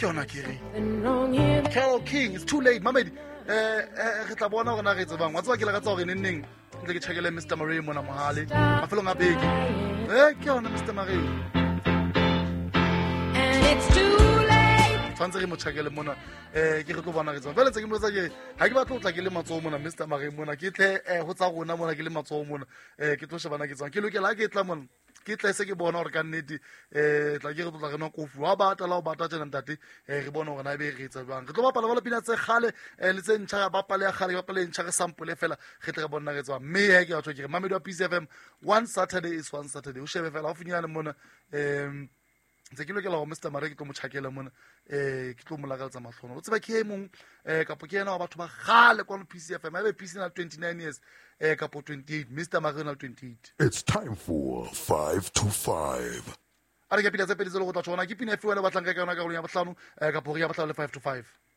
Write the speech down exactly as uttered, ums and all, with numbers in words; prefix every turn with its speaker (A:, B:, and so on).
A: yona ke re Carol King, "It's Too Late". Mamedi, eh eh re tla bona gore na re tsebang. Wa tseba, ke lakatsa gore neng neng ntse ke checkele Mister Marie mona mohale mafelong a beke. Eh ke yona Mister Marie.
B: And it's too late.
A: Tshwanetse re mo checkele mona, eh ke re tlo bona re tsebang. Jwale tse ke mo etsa ke ha ke batle ho tla ke le matsoho mona, Mister Marie mona, ke tle eh ho tsa rona mona ke le matsoho mona, eh ke tlo shebana ke tsebang. Ke lokela ha ke tla mona, ke tle se ke bona gore ka nnete um tla ke re tlo tla re nwa kofi wa bata la o bata tjena ntate, um re bone gore na ebe re etsa jwang. Re tlo bapala bala pina tse kgale um le tse ntjha, ya bapale ya kgale, ke bapale e ntjha, re sample fela, re tle re bona re tswang. Mme he ke batho ke re mamedi wa P C F M, one Saturday is one Saturday. O shebe fela haufinyane mona, um ntse ke lokela gore Mister Mare ke tlo mo tjhakela mona, um ke tlo mo lakaletsa matlhono. O tseba ke e mong um kapo ke ena wa batho ba kgale kwano P C F M. Ebe P C na le twenty-nine years um kapo twenty-eight, Mister Mare o na le twenty-eight.
C: It's time for five to five.
A: A re ke pina tse pedi tse le go tla tshwana ke pina efe wena o batlang ka yona karolong ya bohlano, um kapo hore ya bohlano le five to five.